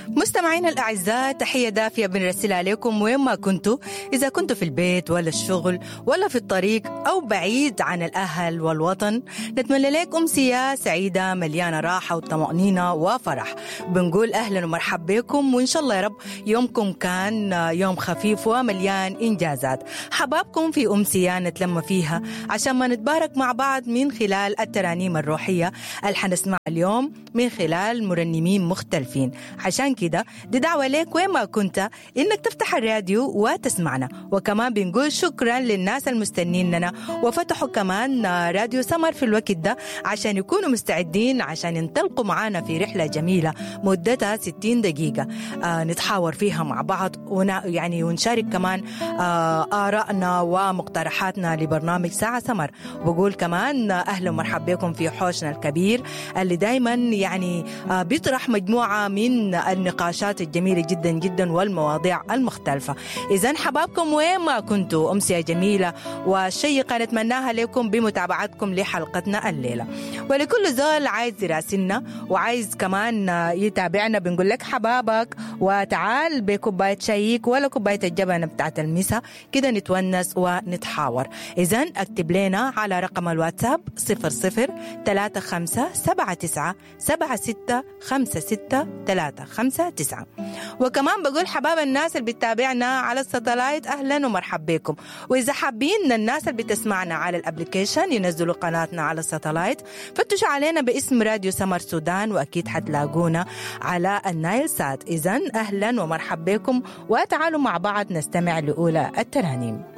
مستمعينا الأعزاء، تحية دافية بنرسلها لكم وين ما كنتوا، إذا كنتوا في البيت ولا الشغل ولا في الطريق أو بعيد عن الأهل والوطن. نتمنى لكم أمسية سعيدة مليانة راحة وطمأنينة وفرح. بنقول أهلا ومرحبا بكم، وإن شاء الله يا رب يومكم كان يوم خفيف ومليان إنجازات. حبابكم في أمسية نتلم فيها عشان ما نتبارك مع بعض من خلال الترانيم الروحية اللي حنسمعها اليوم من خلال مرنمين مختلفين. عشان كده دي دعوة ليك وين ما كنت إنك تفتح الراديو وتسمعنا. وكمان بنقول شكرا للناس المستنيننا وفتحوا كمان راديو سمر في الوقت ده عشان يكونوا مستعدين عشان ينطلقوا معانا في رحلة جميلة مدتها 60 دقيقة نتحاور فيها مع بعض يعني ونشارك كمان آرائنا ومقترحاتنا لبرنامج ساعة سمر. بقول كمان أهلا ومرحبا بكم في حوشنا الكبير اللي دايما يعني بيطرح مجموعة من النقاشات الجميلة جدا جدا والمواضيع المختلفة. إذا حبابكم وين ما كنتوا، أمسية جميلة وشيقة نتمناها لكم بمتابعتكم لحلقتنا الليلة. ولكل زول عايز يراسلنا وعايز كمان يتابعنا بنقول لك حبابك وتعال بكوباية شايك ولا كوباية الجبنة بتاعت المسا كده نتونس ونتحاور. إذا اكتب لنا على رقم الواتساب 00 35 79 76 56 359. وكمان بقول حباب الناس اللي بتتابعنا على الساتلايت أهلا ومرحبا بكم. وإذا حابين الناس اللي بتسمعنا على ال application ينزلوا قناتنا على الساتلايت، فتشوا علينا باسم راديو سمر سودان وأكيد حتلاقونا على النايل سات. إذا أهلا ومرحبا بكم وتعالوا مع بعض نستمع لأولى الترانيم.